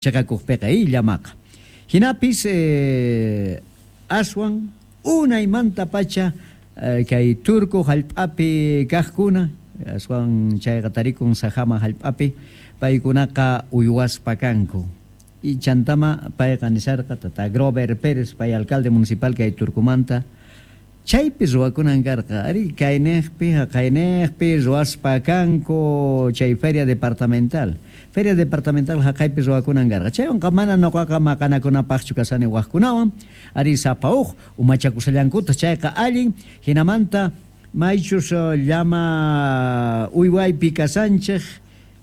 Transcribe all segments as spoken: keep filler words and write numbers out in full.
Chaqakuqpiqa llamaqa hinapis eh, aswan unaymantapacha eh, kay Turku hallp'api kaqkuna aswan chayqa tarikun Sajama hallp'api paykunaqa uywaspa kanku y chantama payqa nisarqa tata Grover Pérez pay alcalde municipal kay Turkumanta chaypi ruwakunan karqa ari kayniqpi haqayniqpi ruwaspa kanku chay feria departamental feria departamental haqaypi ruwakunan karqa chaywanqa mana nuqaqa maqanakunapaqchu kasani waqkunawan ari sapa uj umachakusallankuta chayqa allin hinamanta maychus llama uywaypi kasanchik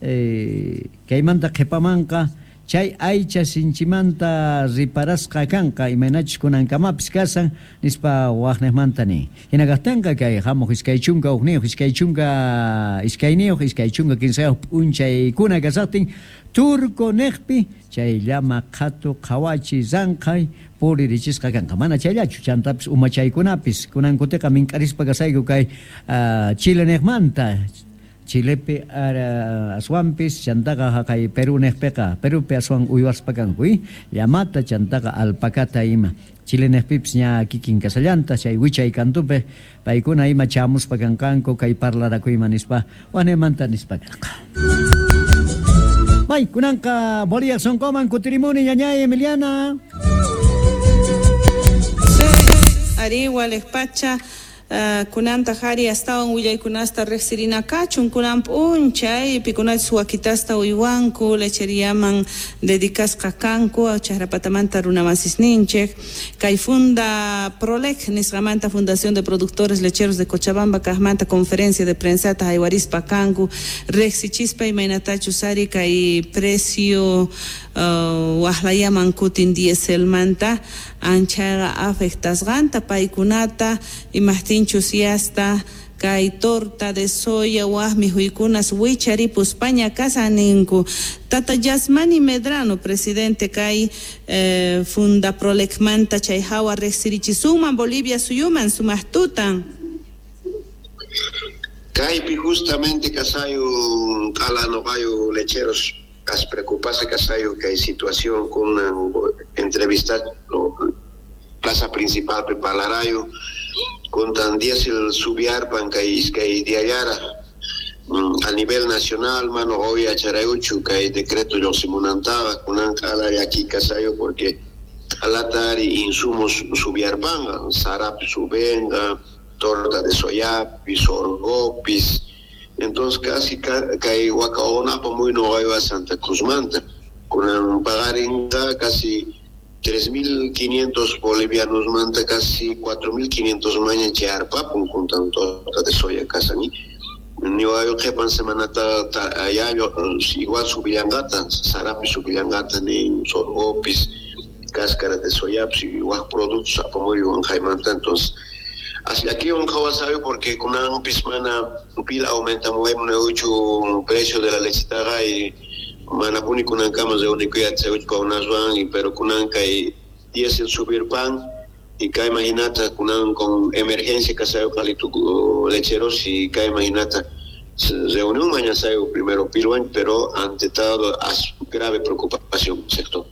eh, kaymanta qhipamanqa chay aycha sinchimanta riparasqa kanqa imaynachus kunankamapis kasan nispa waqniqmanta nin hina kaqtinqa kay hamuq iskay chunka hukniyuq iskay chunka iskayniyuq iskay chunka kinsayuq p'unchaykuna kasaqtin Turco niqpi chay llama qhatu qhawachi ranqhay puririchisqa kanqa mana chayllachu chantapis umachaykunapis kunan kutiqa mink'arispa kasayku kay uh, Chile niqmanta Chilepi aswanpis chantaqa haqay Perú niqpiqa Perupi aswan uywaspa kanku llamata chantaqa alpacata ima Chile niqpipis ña kikin kasallanta chay wichay kantupi paykuna ima chamuspa kanqanku kay parlarakuyman nispa wanimanta nispa karqa. May kunanqa Bolivia sonqoman kutirimuni ñañay Emiliana. Ari walejpacha Uh, kunanta hari astawan willaykunasta riqsirina kachun kunan p'unchay pikunachus wakitasta uywanku lecheriaman dedicasqa kanku chaqrapatamanta runamasisninchik kay Funda Prolec nisqamanta Fundación de Productores Lecheros de Cochabamba kaqmanta conferencia de prensata haywarispa kanku riqsichispa imaynatachus ari kay precio uh, waqlayaman kutin dieselmanta anchaqa afectasqanta paykunata imaqtinchus yasta kay torta de soya waq mikhuykunas wicharipuspaña kasaninku. Tata Yasmani Medrano, presidente kay eh, Funda Prolecmanta chay hawa riqsirichisunman Bolivia suyuman sumaqtutan. Kaypi justamente kasayu q'ala lecheros as preocupase kasayu kay situación con una entrevista no, plaza principal prepalarayo con tan diésel subiarpan kay iskay diallara a nivel nacional mano hoy acharayuchu kay decreto lluqsimunantaqa kunan q'ala llaki kasayu porque alatari insumos subiarpan sarapi subenga torta de soyapis sorgopis. Entonces casi kay wakaonapa muy no a Santa Cruz manta con pagaringa casi tres mil quinientos bolivianos manta casi cuatro mil quinientos maña charpapun con torta de soya kasani ni ayo qhipan semanata allá igual subillangata sarapi subillangata ni sorgopis cáscara de soyapis y wak productos apamuy jaimanta. Entonces así aquí un jawasayo porque con un pismana pila aumenta muy mucho precio de la lechitaga y manapuni kunan kama de único ya se ocho y pero kunan kay diésel subir pan y kai imaginata kunan con emergencia kasayo kalitu lecheros y kai imaginata reunión mañana sayo primero pilwan pero ante todo as grave preocupación sector.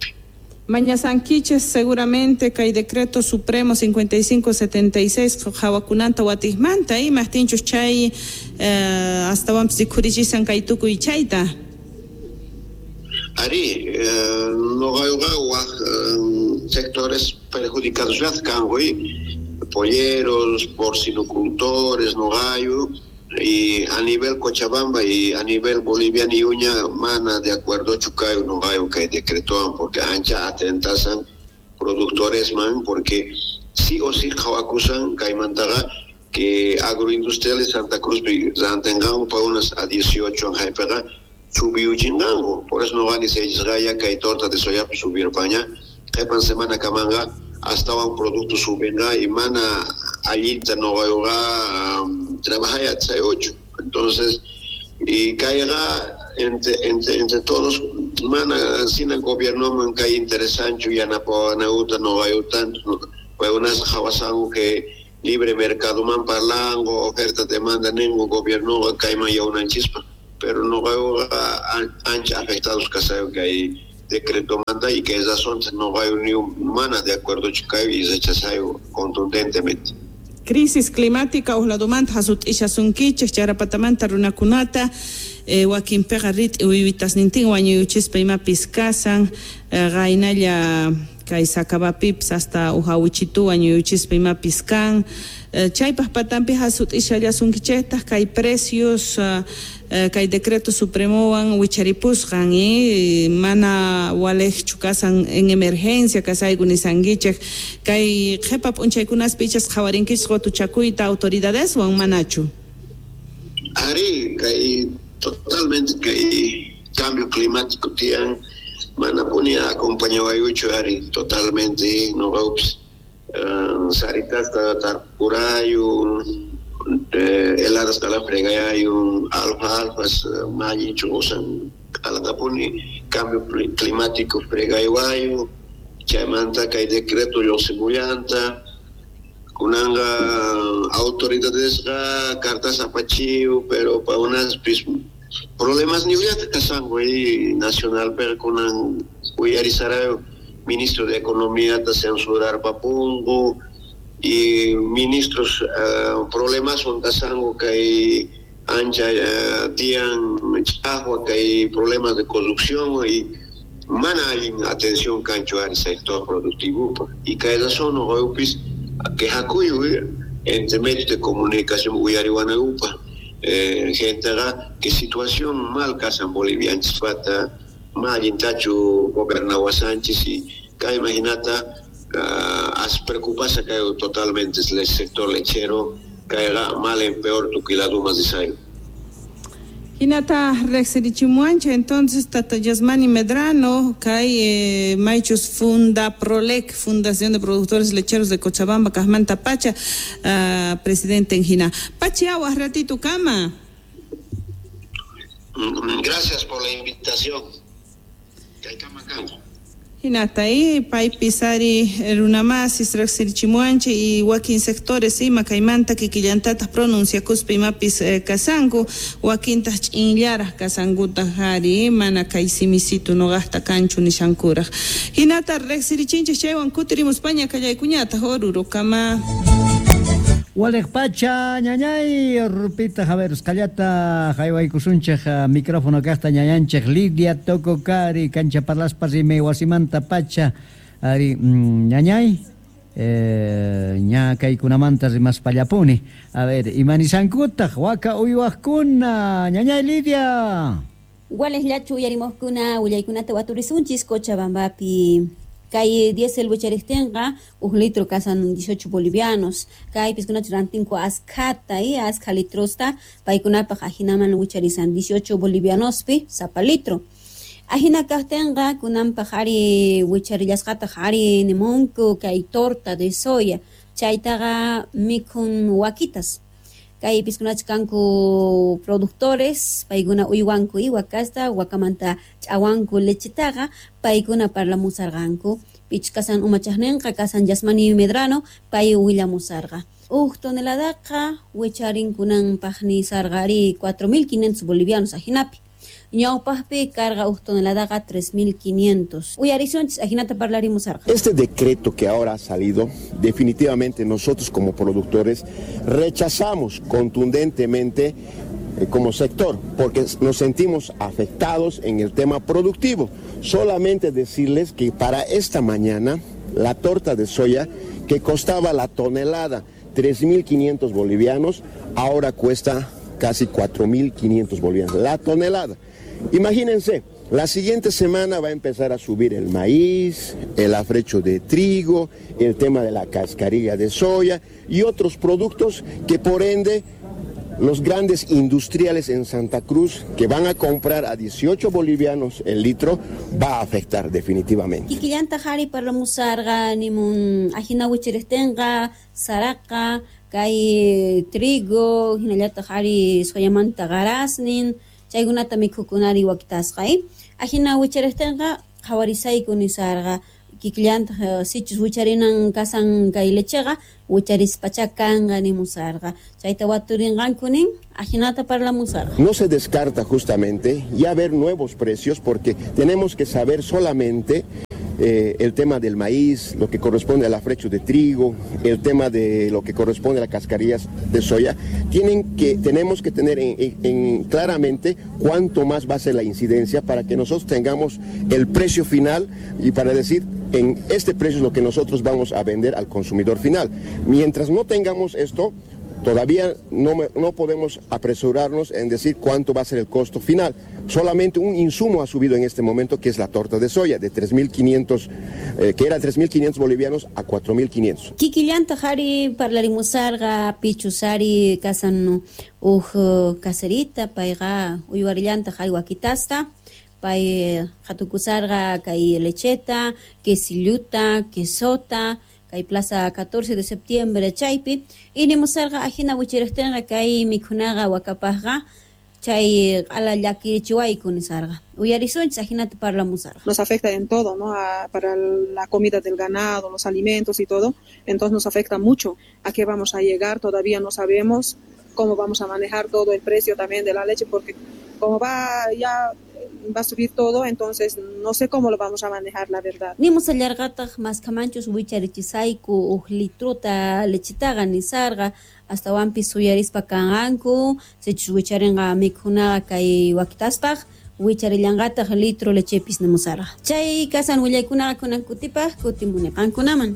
Mañasanquiches seguramente kay decreto supremo cincuenta y cinco setenta y seis hawakunanta watijmanta y mastinchus chay eh, hasta wanpis rikhurichishan kay tukuy chayta. Ari, eh, no hay eh, sectores perjudicados polleros, porcinocultores, no hay, y a nivel Cochabamba y a nivel Bolivia ni uña mana de acuerdo chucayo no hay que decretó porque ancha atentasan productores man porque sí o sí acusan caimantaga que agroindustriales Santa Cruz tengan para unas a dieciocho en Jaipega subió chingango por eso no van y se gaya que hay torta de soya subir paña jepan semana camanga hasta un producto subenga y mana allita no va a trabajar hasta ocho. Entonces y caiga entre entre entre todos mana sin el gobierno man cae interesante ya na nauta no va a tanto pues unas jawasango que libre mercado man parlango oferta demanda ningún gobierno cae ya una chispa pero no va a ancha afectados casayo que hay decreto manda y que razón no hay ni humana de acuerdo chukayo y rechazayo contundentemente. Crisis climática uqladumanta hasut'ishasunkichik charapatamanta runakunata eh, wakinpiqa rit'i uywitasnintin wañuyuchispa imapis kasan eh, qaynalla kay Sacabapipis hasta uhawichitu wañuyuchispa imapis kan eh, chaypaq patampi hasut'ishallasunkichiktaq kay precios uh, kay decreto supremowan wicharipusqan y mana walejchu kasan en emergencia kasayku nisankichik kay qhipa p'unchaykunaspi ichas qhawarinkichik qutuchakuyta autoridadeswan manachu. Ari kay totalmente kay cambio climático tiyan mana puni acompañawayuchu ari totalmente noqapis uh, saritasta tarpurayu heladas kala fregayayu alfa alfas mallinchu usan alatapuni cambio climático fregaywayu chaymanta kay decreto lluqsimullanta kunanqa autoridadesqa cartas apachiyu pero pa unaspis problemas niullata kasanku nacional pero kunan uyarisarayu ministro de economía ta censurar papunku y ministros uh, problemas son kasanku kay ancha uh, tiyan ch'aqwa kay problemas de corrupción y mana allin atención kanchu ari sector productivo y kay razón noqayupis quejakuyu entre medios de comunicación uyariwanayupa eh, genteqa que situación mal kasan bolivianchispata ma allintachu gobernawasanchis y kay imaginata Uh, as preocupasa que totalmente el sector lechero caerá mal en peor tuquiladumas de sayo. Hinata rexerichimuancha entonces Tata Yasmani Medrano kay eh, Maichus Funda Prolec, Fundación de Productores Lecheros de Cochabamba, Kajmanta Pacha, uh, presidente en Hina. Pachi aguas ratito kama. Gracias por la invitación. Kay kama kanku. Hinata y paypis ari runamasis riqsirichimuanchik y wakin sectores ima kaymanta kikillantataq pronunciakuspa imapis eh, kasanku wakintaq ch'inllaraq kasankutaq ari mana kay simisitu nuqaqta kanchu nishankuraq. Hinata riqsirichinchik chaywan kutirimuspaña kallaykuñataq Orurokama. Walej pacha ñañay rupita Javier Escallata jaywaykusunchik micrófono kaqta ñañanchik Lidia Tococari cancha parlaspa rimay wasimanta pacha ari ñañay eh, ña kaykunamanta rimaspallapuni. A ver, imanisankutaq waka uywaqkuna ñañay Lidia. Walej llachu uyarimuqkuna willaykunata waturisunchis Cochabambapi. Kay diésel wichariptinqa uj litro kasan dieciocho bolivianos. Kay piskunachu rantinku askhata y askha litrosta paykunapaq ajinaman wicharisan dieciocho bolivianospi sapa litro. Ajina kaqtinqa kunanpaq ari wicharillasqataq ari nimunku kay torta de soya chaytaqa mikhun wakitas. Kay piskunachu kanku productores paykuna uywanku y wakasta wakamanta ch'awanku lechetaqa paykuna parlamusarqanku pich kasan umachaqninqa kasan Yasmani Medrano pay willamusarqa uj toneladaqa wicharinkunanpaq nisarqa ari cuatro mil quinientos bolivianos ajinapi ñawpaqpi carga uj toneladaqa tres mil quinientos. Uyarisunchis ajinata parlarimusarqa. Este decreto que ahora ha salido, definitivamente nosotros como productores rechazamos contundentemente eh, como sector, porque nos sentimos afectados en el tema productivo. Solamente decirles que para esta mañana la torta de soya que costaba la tonelada tres mil quinientos bolivianos, ahora cuesta casi cuatro mil quinientos bolivianos la tonelada. Imagínense, la siguiente semana va a empezar a subir el maíz, el afrecho de trigo, el tema de la cascarilla de soya y otros productos que por ende los grandes industriales en Santa Cruz que van a comprar a dieciocho bolivianos el litro va a afectar definitivamente. Kikillanta hari parlamusarqa nimun ajina wichiriptinqa saraqa kay trigo hinallataq ari soyamanta qarasnin chaykunata mikhukunari wakitasqa. Ajina wichariptinqa qhawarisayku nisarqa Kikillantaq sichus wicharinan kasan kay lecheqa wicharispacha kanqa nimusarqa. Chayta waturinqanku nin ajinata parlamusarqa. No se descarta justamente ya ver nuevos precios porque tenemos que saber solamente Eh, el tema del maíz, lo que corresponde al afrecho de trigo, el tema de lo que corresponde a las cascarillas de soya, tienen que, tenemos que tener en, en, en claramente cuánto más va a ser la incidencia para que nosotros tengamos el precio final y para decir en este precio es lo que nosotros vamos a vender al consumidor final. Mientras no tengamos esto, todavía no, no podemos apresurarnos en decir cuánto va a ser el costo final. Solamente un insumo ha subido en este momento, que es la torta de soya, de tres mil quinientos, eh, que era tres mil quinientos bolivianos a cuatro mil quinientos. Kikillanta jari parlarimusarqa pichusari kasan uj caserita payqa uywarillanta jari wakitasta pay hatukusarqa kay lecheta, quesilluta, quesota, kay plaza catorce de septiembre chaypi y nimusarqa ajina wichirejtenqa kay mikhunaqa wakapajqa chay q'ala llakirichiwayku nisarqa uyarisunchis ajinata parlamusarqa. Nos afecta en todo, ¿no? A, para la comida del ganado, los alimentos y todo, entonces nos afecta mucho. ¿A qué vamos a llegar? Todavía no sabemos cómo vamos a manejar todo el precio también de la leche, porque como va ya va a subir todo, entonces no sé cómo lo vamos a manejar, la verdad. Nimusallarqataq maskamanchus wicharichisayku uj litruta lechitaqa nisarqa astawanpis suyarispa kanqanku sichus wicharinqa mikhunaqa kay wakitaspaq wicharillanqataq litro lechepis nimusarqa. Chay kasan willaykunaqa kunan kutipaq kutimuni qankunaman.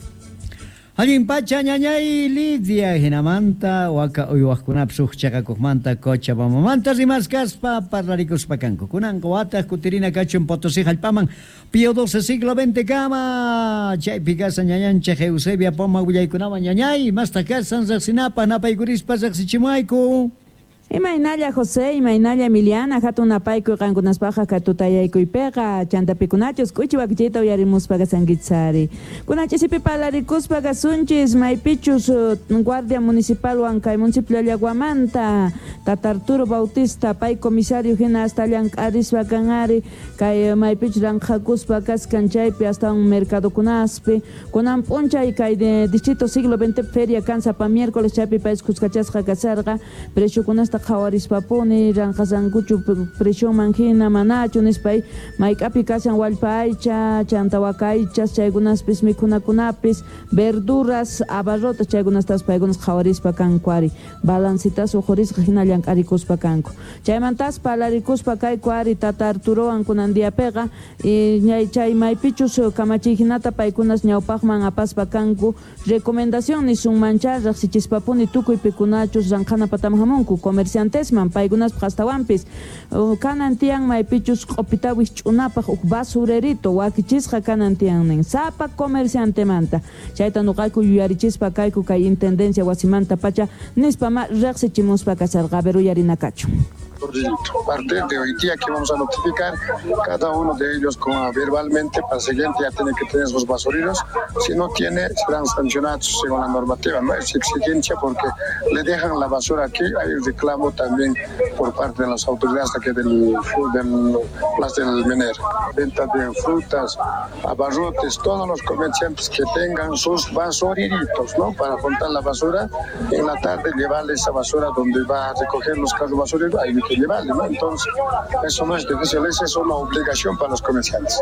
Allin pacha ñañay Lidia hinamanta waka uywaqkunapis uj chaqakuqmanta Cochabambamanta rimaskaspa parlarikuspa kanku. Kunanqa wataq kutirina kachun Potosí hallp'aman Pío doce siglo veinte kama chaypi kasan ñañanchik Eusebia Poma willaykunawan ñañay mastaq kasan riqsinapaq napaykurispa riqsichimuayku. Imaynalla José, imaynalla Emiliana, hatun napaykuy qankunaspaqa katutayaykuypiqa, chantapikunachus k'uchi wakichiyta uyarimuspa kasankichari. Kunachisipi parlarikuspa kasunchis maypichus guardia municipalwan kay municipio Llaguamanta, Tata Arturo Bautista, pay comisario hina hasta llank'arispa kanari, kay maypichus ranqhakuspa kaskan chaypi hasta un mercadokunaspi. Kunan p'unchay kay de distrito siglo veinte feria kan sapa miércoles chaypi pay kuskachasqa kasarqa, preciokunasta qhawarispapuni ranqasankuchu presioman hina manachu nispay mayk'api kashan wallpa aycha chanta waka aychas chaykunaspis mikhunakunapis verduras abarrotas chaykunastas paykunas qhawarispa kanku ari balancitas uqhurisqa hina llank'arikuspa kanku chaymantas parlarikuspa kayku ari Tata Arturowan kunan diapiqa chay maypichus kamachiy hinata paykunas ñawpaqman apaspa kanku recomendación nisunmancha riqsichispapuni tukuy pikunachus ranqhana pataman hamunku comerciantesman paykunaspaq astawanpis kanan tiyan maypichus q'upita wisch'unapaq uj basurerito wakichisqa kanan tiyan nin sapa comerciantemanta chayta nuqayku yuyarichispa kayku kay intendencia wasimanta pacha nispa ma riqsichimuspa kasarqa a ver uyarinakachu. A partir de hoy día que vamos a notificar cada uno de ellos con, verbalmente para el siguiente ya tiene que tener sus basureros. Si no tiene, serán sancionados según la normativa. No es exigencia porque le dejan la basura aquí. Hay un reclamo también por parte de las autoridades aquí del, del Plaza del Mener. Venta de frutas, abarrotes, todos los comerciantes que tengan sus basureritos, ¿no? Para juntar la basura. En la tarde llevarle esa basura donde va a recoger los carros basureros. Ahí que llevarle, ¿no? Entonces, eso no es difícil, esa es una obligación para los comerciantes.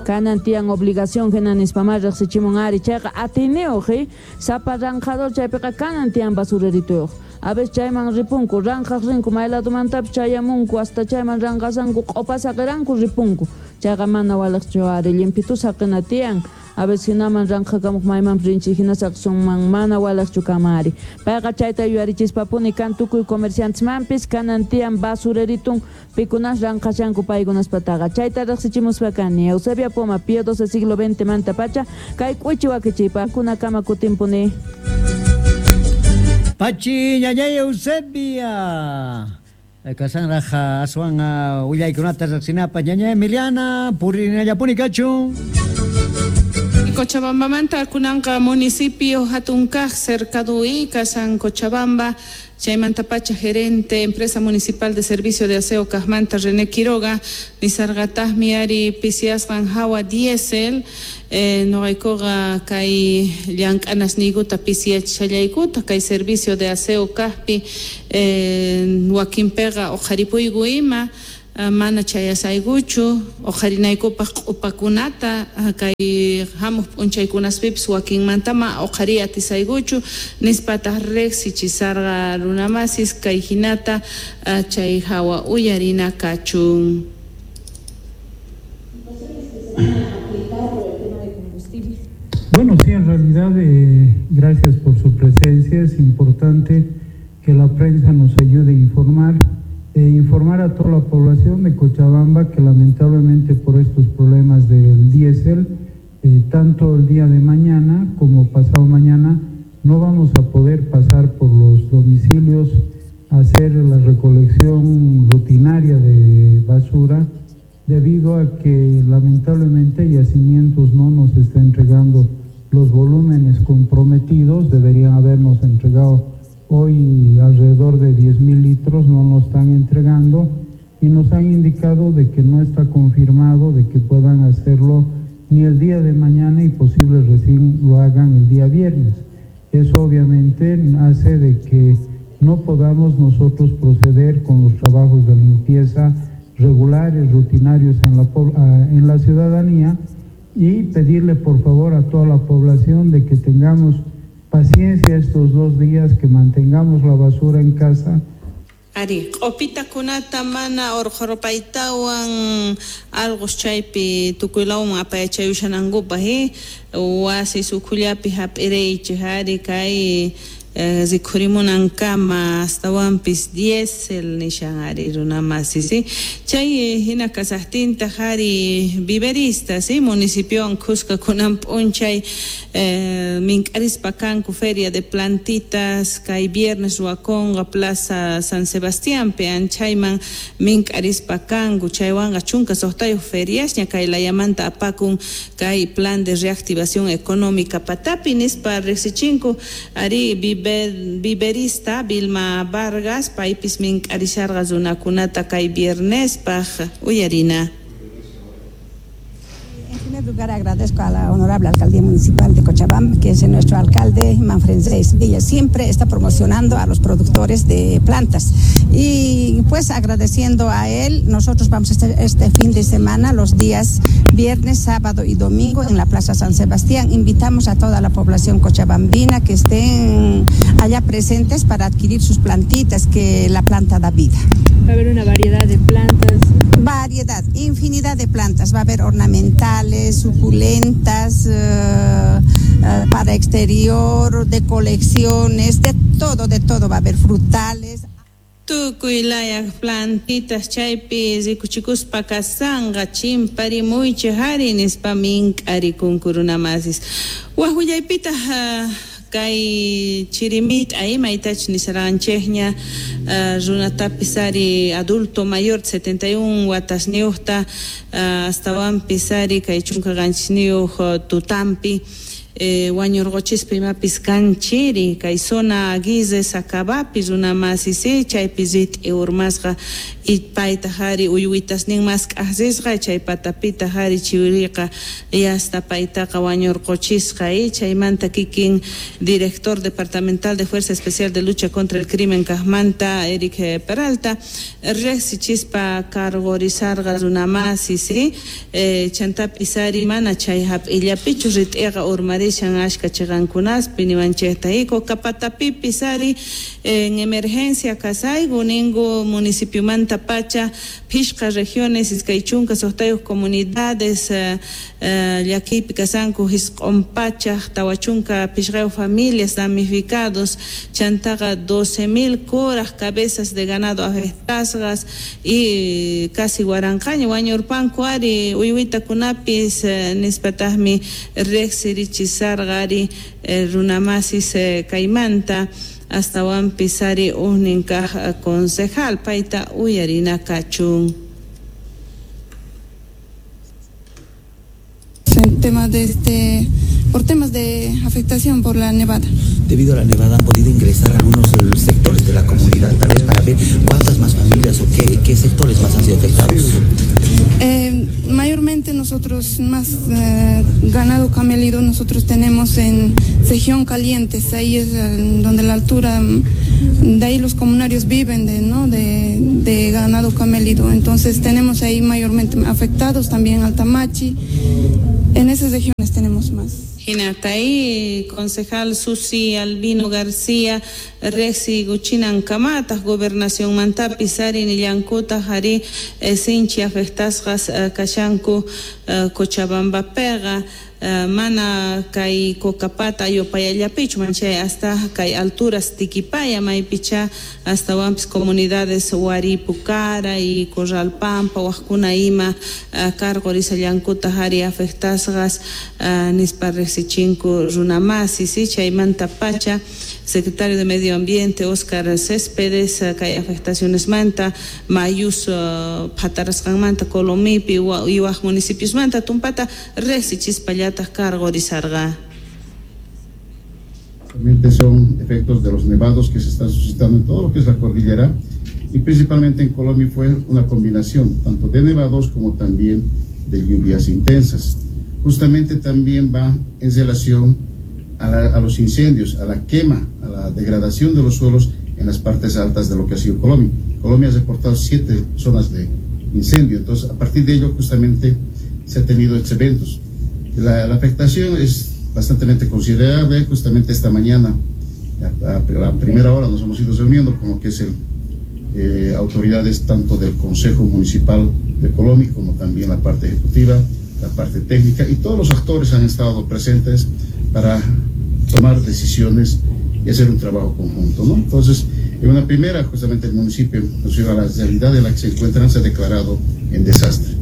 Kanan tiyan obligación hina nispamá riqsichimun ari chayqa atiniyuq sapa ranqador chaypiqa kanan tiyan basurerituyuq. A veces chayman ripunku, ranqaq rinku, maylatumantapis chayamunku, hasta chayman ranqasanku, q'upa saqiranku ripunku. Chayqa mana waliqchu ari limpitu saqina tiyan. A veces hinaman ranqhakamuq maymanpis rinchik hina saqisunman mana waliqchu kamari. Payqa chayta yuyarichispapuni kan tukuy comerciantesmanpis kanan tiyan basureritun pikunas ranqashanku paykunaspataqa. Chayta riqsichimuspa kani Eusebia Poma, Pío doce siglo veinte manta pacha, kay k'uchi wakichiypa kunakama kutinpuni. Pachi ñañay Eusebia. Kasanraj aswan willaykunata riqsinapaq ñañay Emiliana purinallapuni kachun. Cochabambamanta kunanqa municipio hatunkaq cercadui kasan Cochabamba Chaymantapacha gerente empresa municipal de servicio de aseo kajmanta René Quiroga nisarqataqmi ari pisiasqan hawa diésel eh, noqaykuqa kay llank'anasniykuta pisiyachishallaykuta kay servicio de aseo kajpi eh, wakinpiqa uqharipuyku ima mana chayasaykuchu uqharinaykupaq q'upakunata kay hamuq p'unchaykunaspipis wakinmantama uqhariy atisaykuchu nispataq riqsichisarqa runamasis kay hinata chay hawa uyarina kachun. Bueno, sí, en realidad, eh, gracias por su presencia. Es importante que la prensa nos ayude a informar. Eh, informar a toda la población de Cochabamba que lamentablemente por estos problemas del diésel, eh, tanto el día de mañana como pasado mañana, no vamos a poder pasar por los domicilios a hacer la recolección rutinaria de basura, debido a que lamentablemente Yacimientos no nos está entregando los volúmenes comprometidos. Deberían habernos entregado hoy alrededor de diez mil litros, no nos están entregando y nos han indicado de que no está confirmado de que puedan hacerlo ni el día de mañana y posible recién lo hagan el día viernes. Eso obviamente hace de que no podamos nosotros proceder con los trabajos de limpieza regulares, rutinarios en la, en la ciudadanía, y pedirle por favor a toda la población de que tengamos paciencia estos dos días, que mantengamos la basura en casa. Ari, q'upitakunata mana urqhurpaytawan alqus chaypi tukuylawan apayachayushanankupaq eh wasi sukhullapi hap'iriychik ari kay eh, rikhurimunankama astawanpis diésel nishan ari runamasi si chay hina kasaqtintaq ari viveristas si municipiowan khuska kunan p'unchay eh, mink'arispa kanku feria de plantitas kay viernes ruwakunqa plaza San Sebastiánpi anchayman mink'arispa kanku chaywanqa chunka suqtayuq feriasña kay layamanta apakun kay plan de reactivación económica patapi nispa riqsichinku ari viverista Vilma Vargas paypis mink'arisharqa runakunata kay viernespaq uyarina. En primer lugar, agradezco a la honorable alcaldía municipal de Cochabamba, que es nuestro alcalde Manfred Villa. Siempre está promocionando a los productores de plantas. Y pues agradeciendo a él, nosotros vamos a estar este fin de semana, los días viernes, sábado y domingo en la Plaza San Sebastián. Invitamos a toda la población cochabambina que estén allá presentes para adquirir sus plantitas, que la planta da vida. Va a haber una variedad de plantas. Variedad, infinidad de plantas. Va a haber ornamentales, suculentas, eh, eh, para exterior, de colecciones, de todo, de todo. Va a haber frutales. Tukuy laya plantitas chaypi rikuchikuspa kasanqa chimparimuychik ari nispa mink'arikunku runamasis. Waj willaypitaq uh, kay chirimita imaytachus nisarqanchikña uh, runatapis ari adulto mayor setenta y un watasniyuqta uh, astawanpis ari kay chunka qanchisniyuq uh, tutampi Eh, wañurquchispa imapis kanchiri kay zona Aguirre Sacabapi runamasisi chaypi rit'i urmasqa y paytaq ari uywitasnin mask'aqsisqa chay patapitaq ari chiwiriqa y hasta paytaqa wañurquchisqa y chaymanta kikin director departamental de Fuerza Especial de Lucha contra el Crimen kajmanta Eric Peralta riqsichispa cargorizarqa runamasisi eh, chantapis ari mana chay hap'illapichu rit'iqa urmari ashka chiqankunaspi niwanchikta y Cocapatapipis ari en emergencia kasayku ningu municipiomanta pacha phishqa regiones iskay chunka suqtayuq comunidades uh, uh, llakiypi kasanku hisq'un pachaq tawa chunka phishqayuq familias damnificados chantaqa doce mil kuraq cabezas de ganado afectasqas y casi waranqaña wañurpanku ari uywitakunapis uh, nispataqmi riqsirichis sarqari eh, runamasis eh, kaymanta astawanpis ari ujnin kaq concejal payta uyarina kachun. En tema de este por temas de afectación por la nevada. Debido a la nevada han podido ingresar algunos sectores de la comunidad, tal vez para ver cuántas más familias o qué, qué sectores más han sido afectados. Eh, mayormente nosotros, más eh, ganado camélido, nosotros tenemos en región Calientes, ahí es donde la altura, de ahí los comunarios viven de, ¿no? de, de ganado camélido, entonces tenemos ahí mayormente afectados también Altamachi, en esas regiones tenemos más. Hinatay, concejal Susi Albino García, Rexi Guchinan Kamatas, Gobernación Mantapi, Sari Nillankuta, Jari, Sinchi afectasqas, Kashanku, Cochabamba Pega, mana kay Cocapata Yopayallapichu manchay hasta kay alturas Tiquipaya maypicha hasta wampis comunidades Huaripucara y Corralpampa wajkuna ima karqurisallankuta hari afectasqas nispa riqsichinku runamasi si chaymanta pacha secretario de Medio Ambiente Oscar Céspedes kay afectaciones manta mayus phatarasqanmanta Colomipi y waj municipios manta tumpata riqsichispalla cargorizarga. Realmente son efectos de los nevados que se están suscitando en todo lo que es la cordillera y principalmente en Colombia fue una combinación tanto de nevados como también de lluvias intensas. Justamente también va en relación a, la, a los incendios, a la quema, a la degradación de los suelos en las partes altas de lo que ha sido Colombia. Colombia ha reportado siete zonas de incendio, entonces a partir de ello justamente se ha tenido estos eventos. La, la afectación es bastante considerable. Justamente esta mañana, a, a, a la primera hora, nos hemos ido reuniendo con lo que es el, eh, autoridades tanto del Consejo Municipal de Colomi como también la parte ejecutiva, la parte técnica, y todos los actores han estado presentes para tomar decisiones y hacer un trabajo conjunto, ¿no? Entonces, en una primera, justamente el municipio, a la realidad en la que se encuentran, se ha declarado en desastre.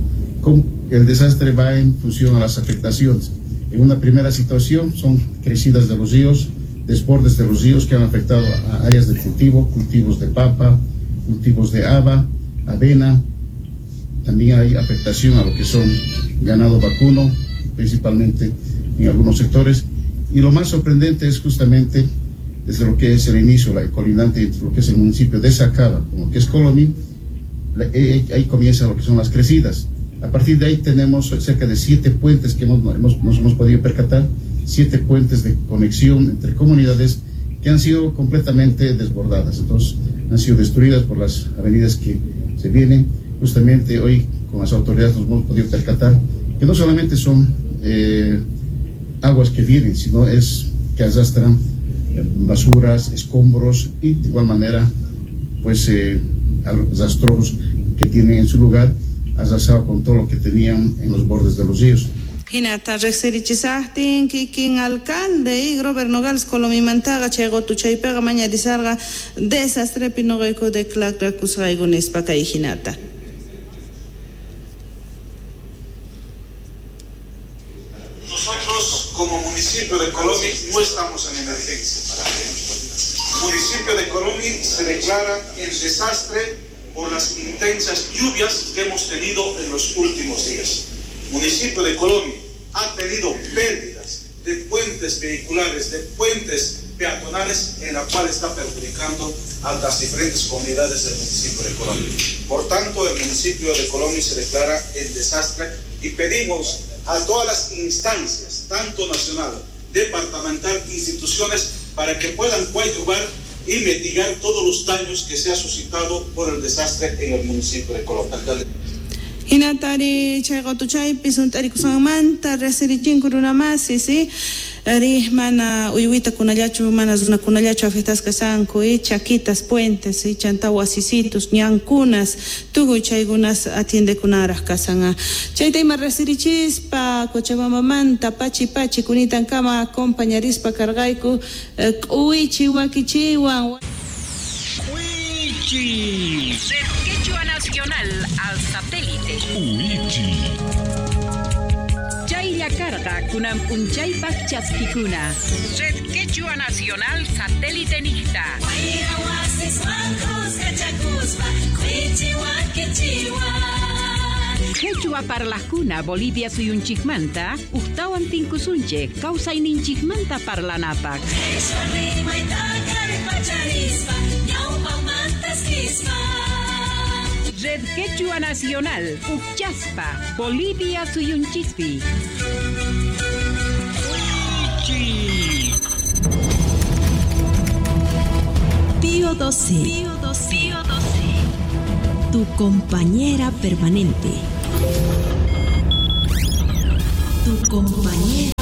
Con el desastre va en función a las afectaciones. En una primera situación son crecidas de los ríos, desbordes de los ríos que han afectado a áreas de cultivo, cultivos de papa, cultivos de haba, avena. También hay afectación a lo que son ganado vacuno, principalmente en algunos sectores. Y lo más sorprendente es justamente desde lo que es el inicio, la colindante entre lo que es el municipio de Sacaba, como que es Colomi, ahí comienza lo que son las crecidas. A partir de ahí tenemos cerca de siete puentes que hemos, hemos, nos hemos podido percatar, siete puentes de conexión entre comunidades que han sido completamente desbordadas. Entonces, han sido destruidas por las avenidas que se vienen. Justamente hoy con las autoridades nos hemos podido percatar que no solamente son eh, aguas que vienen, sino es que arrastran basuras, escombros y de igual manera pues eh, a los rastrojos que tienen en su lugar, arrasado con todo lo que tenían en los bordes de los ríos. Hinata riqsirichisaqtin kikin alcalde y Robert Nogales Colomimantaqa chay qutuchaypiqa mañarisarqa desastrepi noqayku declarakusqayku nispa kay hinata. Nosotros como municipio de Colomi no estamos en emergencia. El municipio de Colomi se declara en desastre por las intensas lluvias que hemos tenido en los últimos días. El municipio de Colomi ha tenido pérdidas de puentes vehiculares, de puentes peatonales, en la cual está perjudicando a las diferentes comunidades del municipio de Colomi. Por tanto, el municipio de Colomi se declara en desastre y pedimos a todas las instancias, tanto nacional, departamental, instituciones, para que puedan coadyuvar y mitigar todos los daños que se ha suscitado por el desastre en el municipio de Colomi. Hinatari chay qutuchaypi sunt'arikusqanmanta riqsirichinku runamasi, si ari mana uywitakunallachu mana runakunallachu afectasqa kashanku y chaquitas, puentes y chanta wasisitos, ñankunas, tukuy chaykunas atiendekunaraq kasan. Chayta ima riqsirichispa Cochabambamanta pachi pachi kunitankama acompañarispa karqayku k'uwichi wakichiwan. K'uwichi. Quechua Nacional al satélite. Uichi. Chaylla karqa kunan p'unchaypaq chaskikuna. Red Quechua Nacional satélite niqta. Quechua parlajkuna Bolivia suyunchikmanta ujtawan tinkusunchik kawsayninchikmanta parlanapaq. Red Quechua Nacional, Uchaspa, Bolivia suyunchispi. Pío doce. Pío doce. Pío doce. Tu compañera permanente. Tu compañera